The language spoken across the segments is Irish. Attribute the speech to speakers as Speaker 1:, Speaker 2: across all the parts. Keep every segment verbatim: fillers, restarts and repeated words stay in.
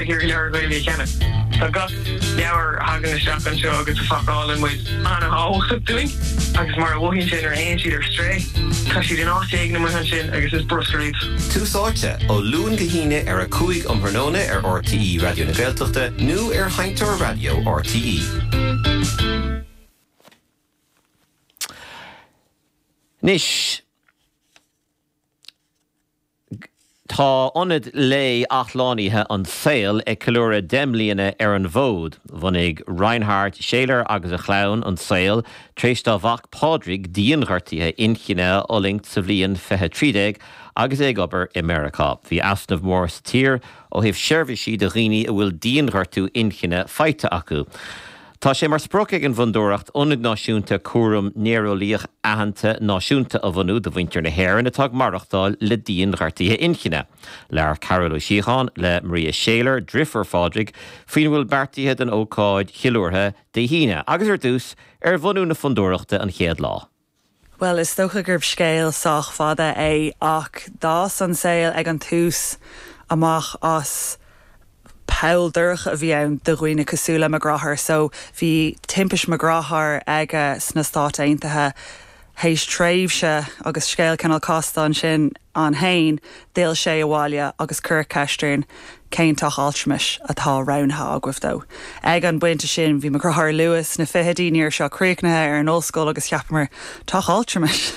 Speaker 1: ag iarraidh leabhar Gaeilge a cheannach. Tá gach leabhar a thagann isteach anseo agus a phacálann muid an-tábhachtach dúinn agus mar a mhothaíonn sé nuair a théann siad ar strae, tá siad in áit éigin amuigh ansin agus is bruscar iad.
Speaker 2: Tús Áite ó Luan go hAoine ar a cúig um thráthnóna ar RTÉ Raidió na Gaeltachta nó ar Sheinnteoir Raidió RTÉ. Anois Tá ionad lae athshlánaithe An Saol ag ceiliúradh deich mbliana ar an bhfód. Bhunaigh Reinhard Scheler agus a chlann An Saol tar éis dá mhac Pádraig dianghortuithe inchinne a fhulaingt sa bhliain fiche trí déag agus é ag obair i Meiriceá. Bhí easnamh mór sa tír ó thaobh seirbhísí do dhaoine a bhfuil dianghortú inchinne faighte acu. Tá sé mar sprioc ag an bhfondúireacht Ionad Náisiúnta Cúram Néareolaíoch aitheanta náisiúnta a bhunú do mhuintir na hÉireann atá ag maireachtáil le dianghortuithe inchinne. Labhair Cearbhall Ó Síocháin le Maria Scheler, deirfiúr Phádraig, faoina bhfuil beartaithe don ócáid cheiliúrtha Dé hAoine agus ar dtús ar bhunú na fondúireachta an chéad lá.
Speaker 3: Well is dócha gurb scéal sách fada é ach d'fhás An Saol ag an tús amach as poll dorcha a bhí ann do dhaoine cosúil le mo dheartháir so bhí timpiste mo dhearthár aige sna Stáit Aontaithe théis tréimhse agus scéal cineál casta ansin ann féin d'fhill sé abhaile agus cuireadh ceist orainn cén teach altramais atá roghnaithe agaibh dó. Ag an bpointe sin bhí mo dheartháir luath sna fichidí ní raibh sé críochnaithe ar an ollscoil agus cheapamar teach altramais.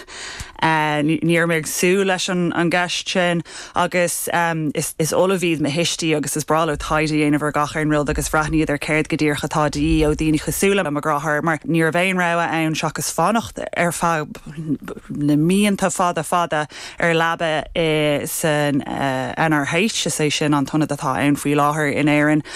Speaker 3: Uh, ní raibh mé ag súil leis an, an gceist sin agus um, is, is ollamh iad mo thuistí agus is breá leo taighde a dhéanamh ar gach aon rud agus bhreathnaíodar ar céard go díreach atá de dhíth ó daoine cosúil le mo dheartháir mar ní raibh aon rogha ann seachas fanacht ar feadh na míonna fada fada ar leaba i san uh, NRH is é sin an t-ionad atá ann faoi láthair in Éirinn.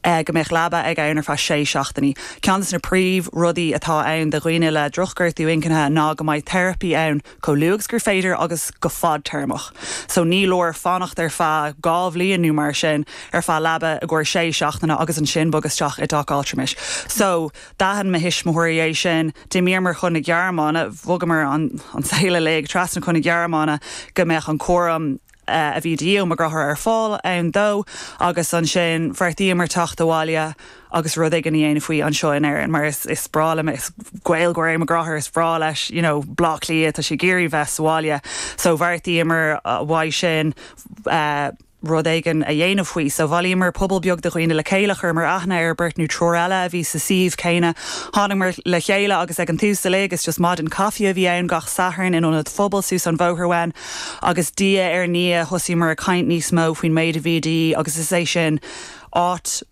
Speaker 3: Uh, go mbeadh leaba ag ann ar feadh sé seachtainí. Ceann de na príomhrudaí atá ann do dhaoine le drochghortú inchinne ná go mbeidh teiripí ann chomh luath agus gur féidir agus go fadtéarmach. So ní leor fanacht ar feadh dhá bhliain nó mar sin ar feadh leaba i gcomhair sé seachtaine agus ansin bog isteach i dteach altramais. So d'aithin mo thuismitheoirí é sin d'imíomar chun na Gearmáine bhogamar an, an saol uilig trasna chun na Gearmáine go mbeadh an cúram uh, a bhí de dhíth ó mo dheartháir ar fáil ann dó agus ansin bheartaíomar teacht abhaile agus rud éigin a dhéanamh faoi anseo in Éirinn mar is, is breá le is Gaeilgeoir é mo dheartháir is breá leis you know, Bleá Cliath tá sé ag iarraidh bheith sa bhaile so bheartaíomar uh, uaidh sin uh, rud éigin a dhéanamh faoi, so bhailíomar pobal beag de dhaoine le chéile chuireamar aithne ar beirt nó triúr eile a bhí sa suíomh céanna. Thángamar le chéile agus ag an tús uilig is just maidin caife a bhí ann gach Satharn in ionad phobail suas an bhóthar uainn agus diaidh ar ndiaidh thosaíomar ag caint níos mó faoin méid a bhí de dhíth agus is é sin áit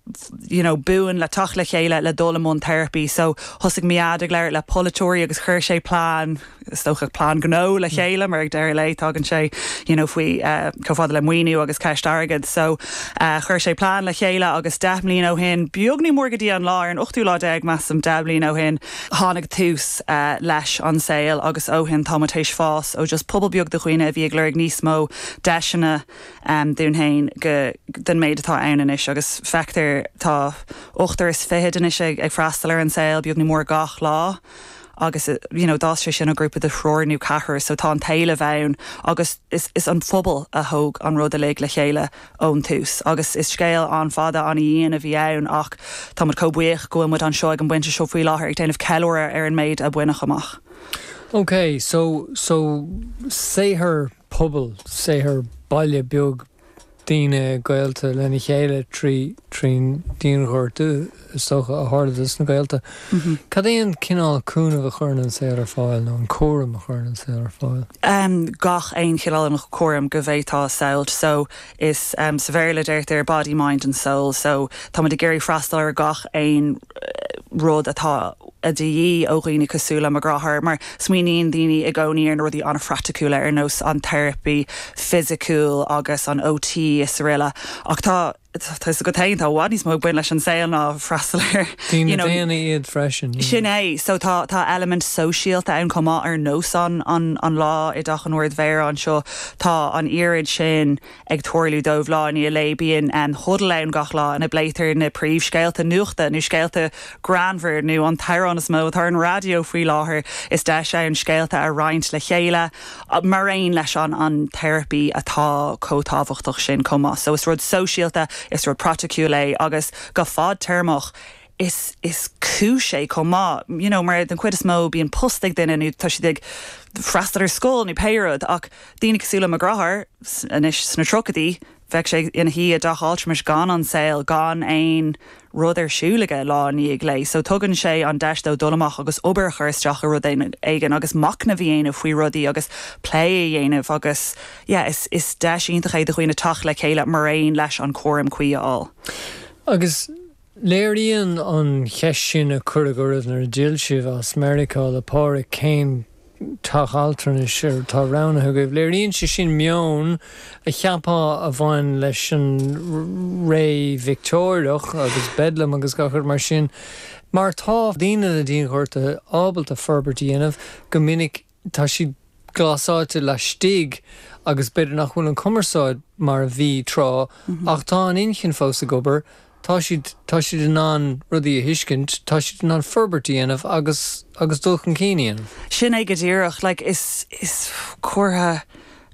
Speaker 3: you know, buan le teacht le chéile le dul i mbun teiripí, so thosaigh Mead ag labhairt le polaiteoirí agus chuir sé plean is dócha plean gnó le chéile mar ag deireadh lae tagann sé you know, faoi uh, chomh fada le maoiniú agus ceist airgid so uh, chuir sé plean le chéile agus deich mbliana ó shin beag ní mór go dtí an lá ar an ochtú lá déag measaim deich mbliana ó shin tháinig tús uh, leis An Saol agus ó shin tá tar éis fás ó just pobal beag de dhaoine a bhí ag lorg níos mó deiseanna um, dúinn féin go den méid atá ann anois agus feictear tá ochtar is fiche anois ag, ag freastal ar An Saol beag ní mór gach lá agus you know, d'fhás sé sin ó grúpa de thriúr nó ceathrar so tá an t-éileamh ann agus is, is an phobal a thóg an rud uilig le chéile ón tús agus is scéal an-fhada an-dian a bhí ann ach tá muid chomh buíoch go bhfuil muid anseo ag an bpointe seo faoi láthair ag déanamh ceiliúradh ar an méid a baineadh amach.
Speaker 4: Ok, so so saothar pobail, saothar baile beag daoine gaolta lena chéile trí trín dianghortú is dócha a tharla dos na gaolta. Mm -hmm. Cad é an cineál cúnamh a chuireann An Saol ar fáil nó an cúram a chuireann An Saol ar fáil?
Speaker 3: Um, gach aon chineál an cúram go bhféadfá a shamhlú so is um, sa Bhéarla deirtear body mind and soul so tá ag iarraidh freastal ar gach aon rud atá a de dhíth ó dhaoine cosúil le mo dheartháir mar smaoiníonn daoine i gcónaí ar na rudaí an-phraiticiúla ar nós an teiripí fisiciúil agus an OT is araile ach tá tá go tá bhfad níos mó ag baint leis An Saol ná freastal ar
Speaker 4: daoine iad freisin.
Speaker 3: Sin é so tá tá element sóisialta ann chomh maith ar nós an an, an lá i dteach an Ardmhéara anseo tá an oiread sin ag tarlú dóibh lá i ndiaidh lae bíonn an huddle ann gach lá ina bpléitear na príomhscéalta nuachta nó scéalta greannmhar nó an t-amhrán is mó atá ar an raidió faoi láthair is deis ann scéalta a roinnt le chéile mar aon leis an an teiripí atá chomh tábhachtach sin chomh maith. So is rud sóisialta is rud praiticiúil é agus go fadtéarmach is is cúis é chomh maith you know, mar den chuid is mó bíonn post ag duine nó tá siad ag freastal ar scoil nó pé rud ach daoine cosúil le mo dheartháir anois sna tríochaidí bheadh sé ina shuí i dteach altranais gan an saol gan aon rud ar siúl aige lá i ndiaidh lae, so tugann sé an deis dó dul amach agus obair a chur isteach i rud éigin agus machnamh a dhéanamh faoi rudaí agus plé a dhéanamh agus yeah, is, is deis iontach é do dhaoine teacht le chéile mar aon leis an cúram cuí a fháil.
Speaker 4: Agus léiríonn an cheist sin a cuireadh oraibh nuair a d'fhill sibh as Meiriceá le Pádraig cén teach altranais atá roghnaithe agaibh. Léiríonn sé sin meon a cheapfá a bhain leis an ré Victeoiriach agus Bedlam agus gach rud mar sin. Mar tá daoine le dianghortuithe ábalta forbairt a dhéanamh go minic tá siad glasáilte laistigh agus b'fhéidir nach bhfuil an cumarsáid mar a bhí tráth ach tá an inchinn fós ag obair, tá siad tá siad in ann rudaí a thuiscint, tá siad in ann forbairt a dhéanamh agus agus dul chun cinn a dhéanamh.
Speaker 3: Sin é go díreach, like, is is comhartha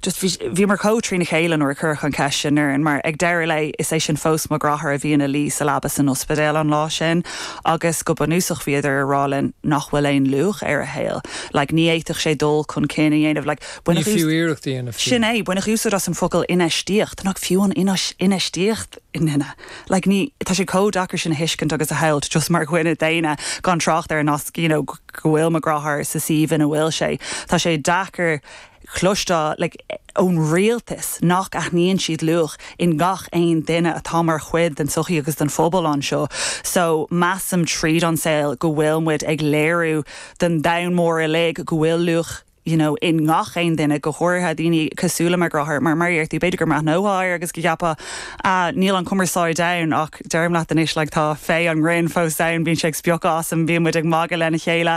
Speaker 3: just bhíomar chomh trína chéile nuair a cuireadh an cheist sin orainn, mar ag deireadh lae is é sin fós mo dheartháir a bhí ina luí sa leaba san ospidéal an lá sin agus go bunúsach bhíodar ag rá linn nach bhfuil aon luach ar a shaol. Like, ní fhéadfadh sé dul chun cinn a dhéanamh, like,
Speaker 4: Ní fiú iarracht a dhéanamh fiú.
Speaker 3: Sin é, baineadh úsáid as an focal infheistíocht, nach fiú an infheistíocht i nduine. Like, ní tá sé chomh deacair sin a thuiscint agus a shamhlú just mar dhuine daonna gan trácht ar nasc you know, go bhfuil mo dheartháir sa suíomh ina bhfuil sé. Tá sé deacair cloisteáil like, ón rialtas nach aithníonn siad luach in gach aon duine atá mar chuid den sochaí agus den phobal anseo. So measaim tríd an saol go bhfuil muid ag léiriú den domhan mór uilig go bhfuil luach you know, in ngach aon duine go háirithe daoine cosúil le mo dheartháir mar mar tú b'fhéidir go mbreathnófá air agus go gceapfá uh, níl an cumarsáid ann ach deirim leat anois like, tá féith an ghrinn fós ann bíonn sé ag spiocadh asam bíonn muid ag magadh lena chéile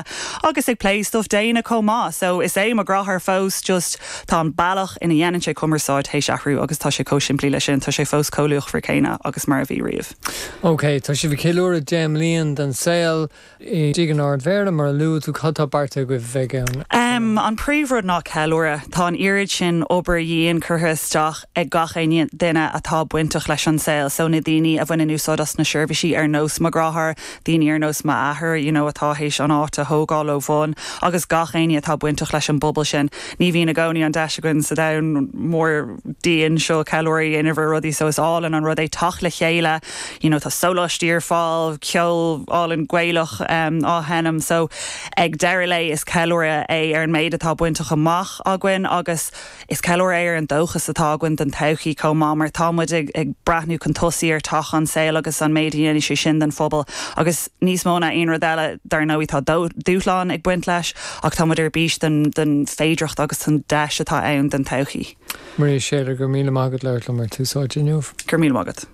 Speaker 3: agus ag plé stuff daonna chomh maith. So is é mo dheartháir fós just tá an bealach ina dhéanann sé cumarsáid théis athrú agus tá sé chomh simplí leis sin tá sé fós chomh luachmhar céanna agus mar a bhí riamh.
Speaker 4: Ok, tá sibh ag ceiliúradh deich mbliana den saol i dTigh an Ardmhéara mar a luaigh tú cad tá beartaithe agaibh bheith ann.
Speaker 3: Um, an príomhrud ná ceiliúradh tá an oiread sin obair dhian curtha isteach ag gach aon duine atá bainteach leis an saol, so na daoine a bhaineann úsáid as na seirbhísí ar nós mo dheartháir, daoine ar nós m'athair, you know, atá théis an áit a thógáil ó bhun, agus gach éinne atá bainteach leis an bpobal sin. Ní bhíonn i gcónaí an deis againn sa domhan mór dian seo ceiliúradh a dhéanamh ar rudaí so is álainn an rud é teacht le chéile, you know, tá sóláistí ar fáil, ceol álainn Gaelach um, á sheinm, so ag deireadh lae is ceiliúradh é ar an méid atá bainte amach againn agus is ceiliúradh é ar an dóchas atá againn don todhchaí chomh maith mar tá muid ag, ag breathnú chun tosaigh ar teach an saol agus an méid a dhéanfaidh sé sin den phobal agus níos mó ná aon rud eile dar ndóigh tá dúshlán ag baint leis ach tá muid ar bís den, den féidearthacht agus an deis atá ann den todhchaí.
Speaker 4: Maria Shailer go raibh míle maith agat labhairt liom ar Tús Áite inniu.
Speaker 3: Go raibh míle maith agat.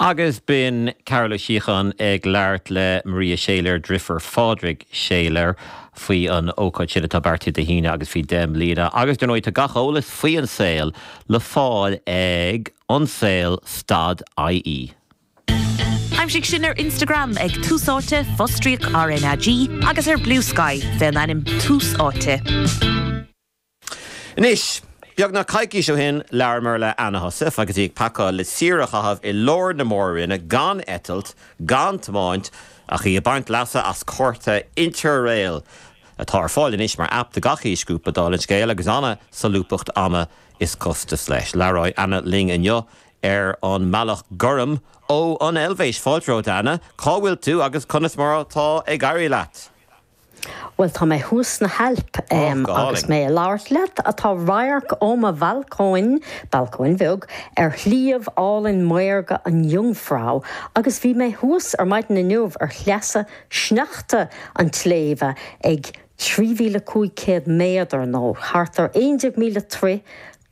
Speaker 2: Agus b'in Carol Ó Síocháin ag labhairt le Maria Shailer deirfiúr Phádraig Shailer faoi an ócáid sin atá beartaithe Dé hAoine agus faoi deich mbliana. Agus dar ndóigh tá gach eolas faoi an saol le fáil ag ansaol stad IE.
Speaker 5: Aimsigh sinn ar Instagram ag Tús Áite fostríoc RnaG agus ar Bluesky fén ainm Tús Áite.
Speaker 2: Anois, Beagnach coicís ó shin labhramar le Anna Heussaff agus í ag pacáil le saoire a chaitheamh i lár na mór-roinne gan eitilt, gan tiomáint ach í ag baint leasa as cárta Interrail atá ar fáil anois mar app do gach aoisghrúpa dála an scéil agus an-solúbthacht ama is costas leis. Labhróidh Anna linn inniu ar an mbealach gorm ó an Eilvéis fáilte romhat Anna, cá bhfuil tú agus conas mar atá ag éirí leat.
Speaker 6: Well tá mé thuas sna hAilp um,
Speaker 2: oh,
Speaker 6: agus mé ag labhairt leat atá radharc ó mo bhalcóin balcóin bheag ar shliabh álainn maorga an Jungfrau agus bhí mé thuas ar maidin inniu ar shleasa sneachta an tsléibhe ag trí mhíle cúig céad méadar nó thart ar aon déag míle troigh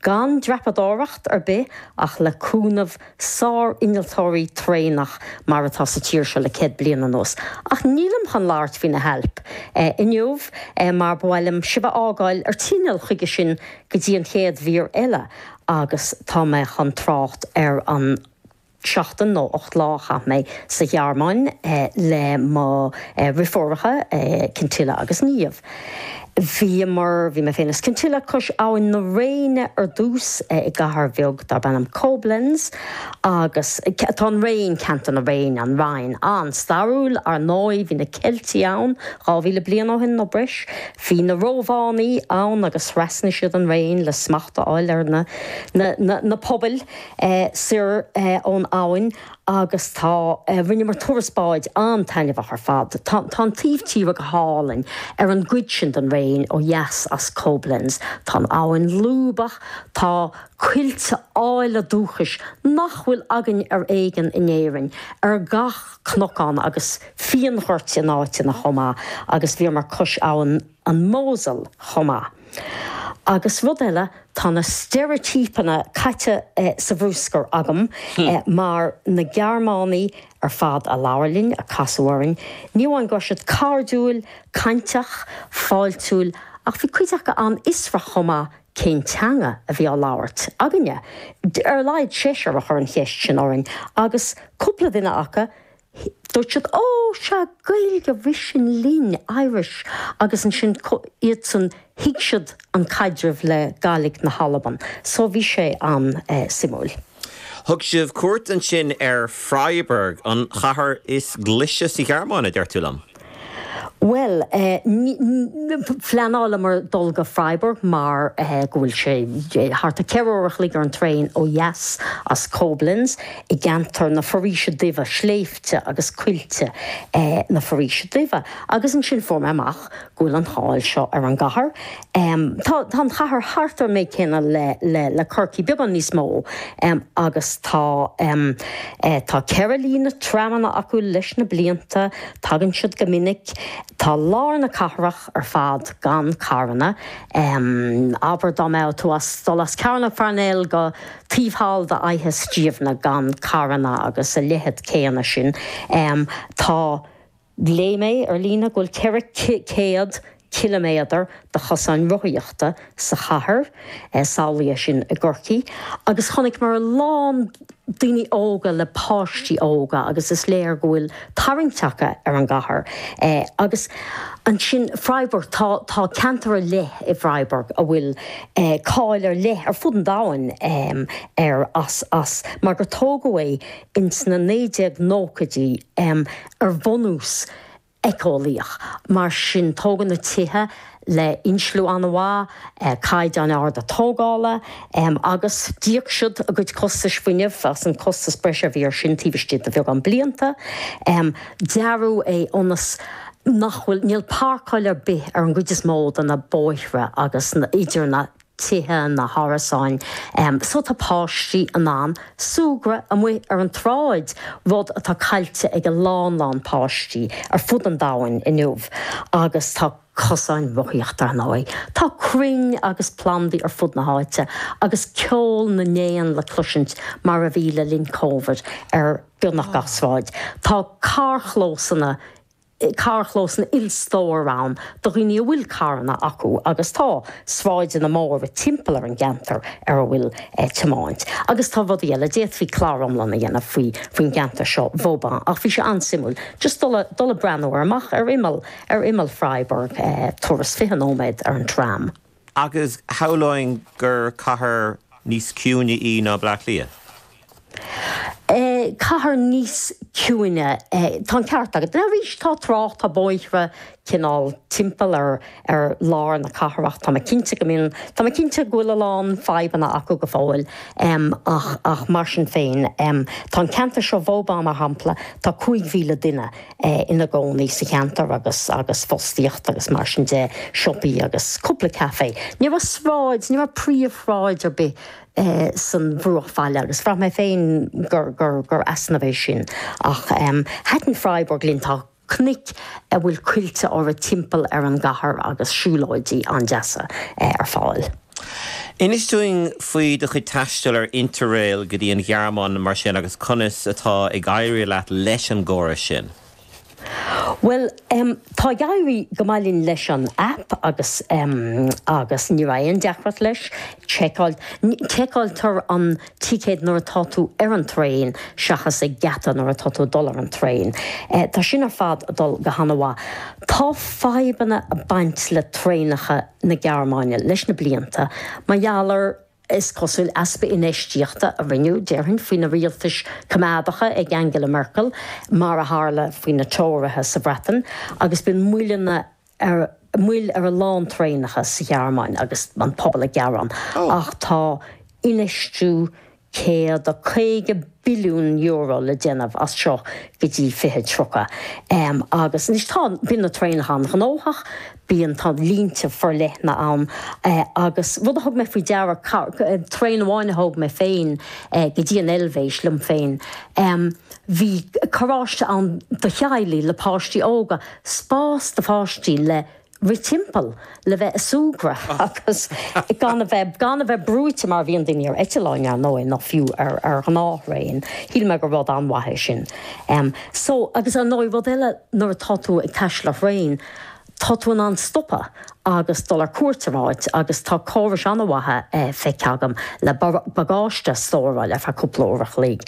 Speaker 6: gan dreapadóireacht ar bith ach le cúnamh sár-innealtóirí traenach mar atá sa tír seo le céad bliain anuas. Ach nílim chun labhairt faoi na hAilp eh, inniu eh, mar ba mhaith liom sibh a fhágáil ar tinneall chuige sin go dtí an chéad mhír eile agus tá mé chun trácht ar an seachtain nó ocht lá a chaith mé sa Ghearmáin eh, le mo eh, dheirfiúracha eh, Cintilla agus Niamh. Bhíomar, bhí mé féin is Cintilla cois abhainn na Réine ar dtús i gcathair bheag darb ainm Koblenz agus tá an Réin, ceantar na Réine, an Rhein, an-stairiúil ar ndóigh, bhí na Ceiltigh ann dhá mhíle bliain ó shin nó breis, bhí na Rómhánaigh ann agus thrasnaigh siad an Réin le smacht a fháil ar na na na na pobail soir ón abhainn. Agus tá, rinneamar turas báid an-taitneamhach ar fad. Tá, tá an taobh tíre go hálainn ar an gcuid sin den Réin ó dheas as Koblenz. Tá an abhainn lúbach, tá coillte áille dúchais nach bhfuil againn ar éigean in Éirinn ar gach cnocán agus fíonghoirt in áiteanna chomh maith agus bhíomar cois abhainn an Mosel chomh maith. Agus rud eile, tá na steiréitípeanna caite sa bhruscar agam mar na Gearmánaigh ar fad a labhair linn, a casadh orainn, ní amháin go raibh siad cairdiúil, cainteach, fáiltiúil, ach bhí cuid acu an-fhiosrach chomh maith cén teanga a bhí á labhairt againne. Ar a laghad seisear a chuir an cheist sin orainn agus cúpla duine acu, Dúirt siad, Ó, sea, Gaeilge, rith sin linn, Irish, agus ansin iadsan, thuig siad an caidreamh le Gàidhlig na hAlban. So bhí sé an-suimiúil.
Speaker 2: Thug sibh cuairt ansin ar Freiburg, an chathair is glaise sa Ghearmáin, a deir tú liom.
Speaker 6: Bhuel, phleanálamar dul go Freiburg mar go bhfuil sé thart ar ceithre uair a chloig ar an traein ó dheas as Koblenz i gceantar na Foraoise Duibhe, sléibhte agus coillte na Foraoise Duibhe. Agus ansin fuair mé amach go bhfuil an cháil seo ar an gcathair. Tá an chathair thart ar an méid céanna le Corcaigh, beagán níos mó, agus tá tá ceithre líne tramanna acu leis na blianta, tagann siad go minic. Tá lár na cathrach ar fad gan carranna. Abair dá mbeadh tú as dul as Cearnóg Pharnell go taobh thall de Fhaiche Stiabhna gan carranna agus a leithéid céanna sin. Tá, léigh mé ar líne go bhfuil ceithre chéad ciliméadar de chosáin rothaíochta sa chathair, samhlaigh é sin i gCorcaigh, agus chonaiceamar a lán daoine óga le páistí óga agus is léir go bhfuil tarraingt acu ar an gcathair. Agus ansin Freiburg, tá tá ceantar ar leith i bhFreiburg a bhfuil cáil ar leith ar fud an domhain air as as mar gur tógadh é ins na naoi déag nóchaidí ar bhunús éiceolaíoch. Mar sin, tógadh na tithe le insliú an-mhaith, caighdeáin arda tógála, agus d'íoc siad a gcuid costais fuinnimh as an costas breise a bhí air sin taobh istigh de bheagán blianta. Dearadh é ionas nach bhfuil, níl páirceáil ar bith ar an gcuid is mó de na bóithre agus idir na tithe, na hárasáin, so tá páistí in ann súgradh amuigh ar an tsráid, rud atá caillte ag a lán lán páistí ar fud an domhain inniu. Agus tá cosáin rothaíochta ar ndóigh. Tá crainn agus plandaí ar fud na háite agus ceol na n-éan le cloisint mar a bhí le linn Covid ar beagnach gach sráid. Tá carrchlósanna carrchlósanna ilstóir ann do dhaoine a bhfuil carranna acu agus tá sráideanna móra timpeall ar an gceantar ar a bhfuil tiomáint. Agus tá rudaí eile, d'fhéadfaí clár iomlán a dhéanamh faoi faoin gceantar seo, Vauban, ach bhí sé an-suimiúil just dul dul ag breathnú ar amach ar imeall ar imeall Freiburg, turas fiche nóiméad ar an tram.
Speaker 2: Agus shamhlóinn gur cathair níos ciúine í ná Bleá Cliath?
Speaker 6: Cathair níos ciúine, tá an ceart agat. Arís, tá trácht, tá bóithre cineál timpeall ar ar lár na cathrach. Tá mé cinnte go mbíonn, tá mé cinnte go bhfuil a lán fadhbanna acu go fóill ach ach mar sin féin, tá an ceantar seo, Vauban mar shampla, tá cúig mhíle duine ina gcónaí sa cheantar agus agus fostaíocht agus mar sin de, siopaí agus cúpla café. Ní raibh sráid, ní raibh príomhshráid ar bith san bhruachbhaile agus bhraith mé féin gur gur gur easnamh é sin. Ach thaitin Freiburg linn, tá cnoic a bhfuil coillte orthu timpeall ar an gcathair agus siúlóidí an-deasa ar fáil.
Speaker 2: Inis dúinn faoi do chuid taistil ar Interrail go dtí an Ghearmáin mar sin agus conas atá ag éirí leat leis an gcóras sin.
Speaker 6: Well, um, tá ag éirí go maith linn leis an app agus um, agus ní raibh aon deacracht leis seiceáil seiceáiltear an ticéad nuair atá tú ar an traein seachas ag geata nuair atá tú dul ar an traein. Eh, tá sin ar fad ag dul go han-mhaith. Tá fadhbanna ag baint le traenacha na Gearmáine leis na blianta, mar gheall ar is cosúil easpa infheistíochta a rinneadh déarfainn faoi na rialtais coimeádacha ag Angela Merkel mar a tharla faoi na Tóraithe sa Bhreatain agus bíonn moilleanna ar moill ar a lán traenacha sa Ghearmáin agus an pobal ag gearán ach tá infheistiú céad a caoga billiún euro le déanamh as seo go dtí fiche tríocha. Um, agus anois tá bíonn na traenacha an-ghnóthach, bíonn tá línte forleithne ann eh, agus rud a thug mé faoi deara traein amháin a thóg mé féin eh, go dtí an Eilvéis liom féin. Um, bhí carráiste ann do theaghlaigh le páistí óga, spás do pháistí le rith timpeall le bheith ag súgradh agus gan a bheith gan a bheith brúite mar bhíonn daoine ar eitleáin ar ndóigh nó fiú ar ar ghnáththraein. Shíl mé gur rud an-mhaith é sin. Um, so agus ar ndóigh rud eile nuair atá tú ag taisteal ar thraein, tá tú in ann stopadh agus dul ar cuairt ar áit agus tá córais an-mhaithe eh, feicthe agam le bagáiste stóráil ar feadh cúpla uair a chloig.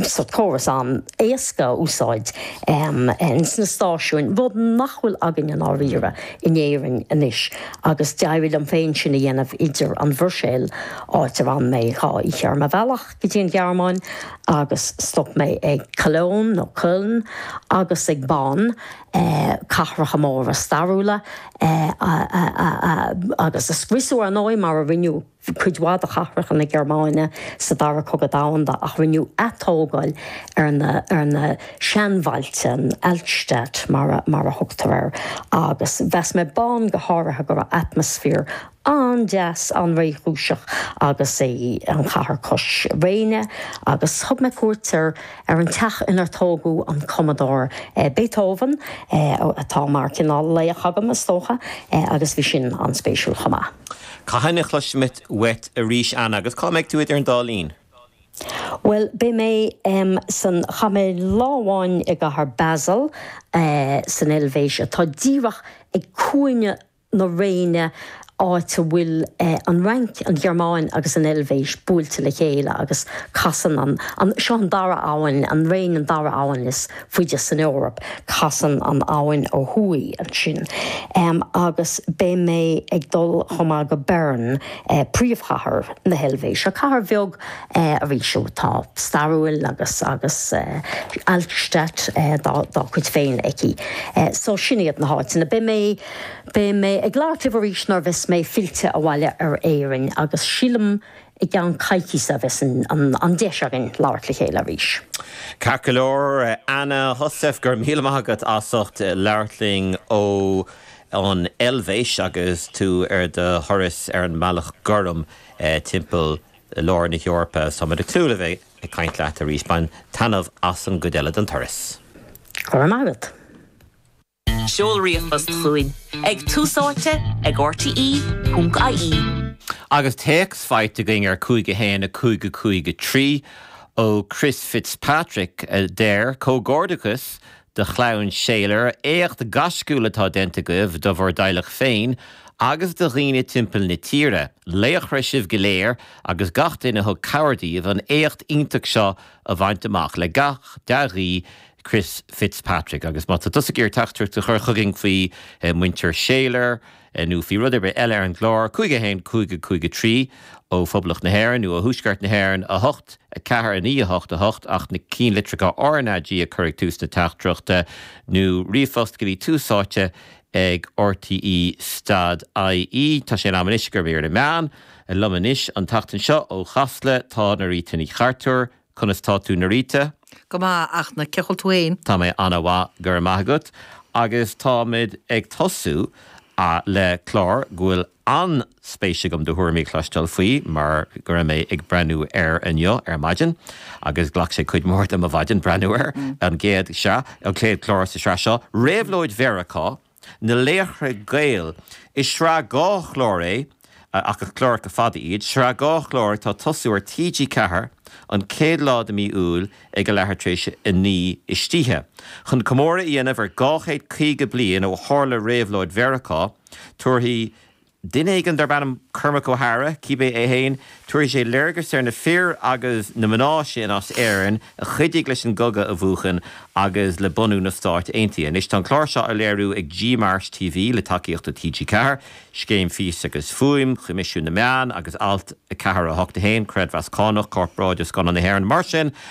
Speaker 6: So córas an-éasca a úsáid um, sna stáisiúin, rud nach bhfuil againn i ndáiríre in Éirinn anois agus d'éirigh liom féin sin a dhéanamh idir an Bhruiséil áit ar fhan mé dhá oíche ar mo bhealach go dtí an Ghearmáin agus stop mé ag Cologne nó Köln agus ag Bonn eh, cathracha móra stairiúla eh, agus a scriosadh ar ndóigh mar a rinneadh cuid mhaith de chathracha na Gearmáine sa dara cogadh domhanda ach rinneadh atógáil ar na ar na seanbhailte an Altstadt mar mar a thugtar air agus mheas mé Bonn go háirithe go raibh atmaisféar an-deas an-réchúiseach agus é an chathair cois Réine agus thug mé cuairt ar ar an teach inar tógadh an cumadóir eh, Beethoven eh, atá mar cineál laoch agam is dócha eh, agus bhí sin an-spéisiúil chomh maith.
Speaker 2: Cathain a chloisfimid uait arís Anna agus cá mbeidh tú idir an dá linn?
Speaker 6: Well beidh mé um, san chaith mé lá amháin i gcathair Basel uh, san Eilvéis atá díreach ag cúinne na Réine áit a bhfuil eh, an Fhrainc, an Ghearmáin agus an Eilvéis buailte le chéile agus casann an, an seo an dara abhainn, an Réin an dara abhainn is faide san Eoraip, casann an abhainn ó thuaidh ansin. Um, agus beidh mé ag dul chomh maith go Bern eh, príomhchathair na hEilvéise. Cathair bheag eh, arís atá stairiúil agus agus eh, Altstadt eh, dá, dá cuid féin aici. Eh, so sin iad na háiteanna. Beidh mé Beidh mé ag labhairt libh arís nuair a bheas mé fillte abhaile ar Éirinn agus sílim i gceann coicíse a bheas an, an, an deis againn labhairt le chéile arís.
Speaker 2: Ceart go leor Anna Heussaff go raibh míle maith agat as ucht labhairt linn ó an Eilvéis agus tú ar do thuras ar an mBealach Gorm eh, timpeall lár na hEorpa Tá ag súil le bheith ag caint leat arís bain taitneamh as an gcuid eile den turas.
Speaker 6: Go raibh maith agat.
Speaker 5: Seol ríomhphost chugainn ag tús áite ag RTE ponc IE.
Speaker 2: Agus téacs faighte againn ar cúig a haon a cúig a cúig a trí ó Chris Fitzpatrick a deir comhghairdeachas do chlann Shayler éacht gaisciúil atá déanta agaibh do bhur dteaghlach féin agus do dhaoine timpeall na tíre, Laochra sibh go léir agus gach duine thug cabhair daoibh an éacht iontach seo a bhaint amach le gach dea-ghuí Chris Fitzpatrick agus má tá tusa ag iarraidh teachtaireacht a chur chugainn faoi eh, muintir Shayler eh, nó faoi rud ar bith eile ar an gclár cúig a haon cúig a cúig a trí ó Phoblacht na hÉireann nó ó Thuaisceart na hÉireann a hocht a ceathair a naoi a hocht a hocht ach na ceannlitreacha RnaG a chur ag tús na teachtaireachta nó ríomhphost go dtí tús áite ag RTE stad IE Tá sé in am anois do mhír na meán, liom anois an tseachtain seo ó Chasla tá Norita Ní Chartúir, conas tá tú Norita?
Speaker 7: Go maith ach na ceol túéin.
Speaker 2: Tá mé an-mhaith go raibh maith agat agus táimid ag tosú le clár go bhfuil an-spéis agam do thuairimí a chloisteáil faoi mar go raibh mé ag breathnú air inniu ar maidin agus ghlac sé cuid mhór de mo mhaidin breathnú air an gcéad seo an chéad chlár sa sraith seo Réabhlóid Mheiriceá na Laochra Gael is sraith dhá chlár é ach is cláracha fada iad, sraith dhá chlár atá ag tosú ar TG Ceathair an chéad lá de mí Iúil ag a leathuair tar éis a naoi istoíche. Chun comóradh a dhéanamh ar dhá chéad caoga bliain ó tharla réabhlóid Mheiriceá, tabharfaidh duine éigin darb ainm Cormac O'Hara, cibé é féin, tabharfaidh sé léargas ar na fir agus na mná sin as Éirinn a chuidigh leis an gcogadh a bhuachan agus le bunú na Stát Aontaithe. Anois tá an clár seo á léiriú ag G-Mars TV le tacaíocht ó TG Ceathair, Scéim Fís agus Fuaim, Coimisiún na Meán agus Alt a ceathair a hocht a haon, Creidmheas Cánach, Corparáid Scannán na hÉireann. Mar sin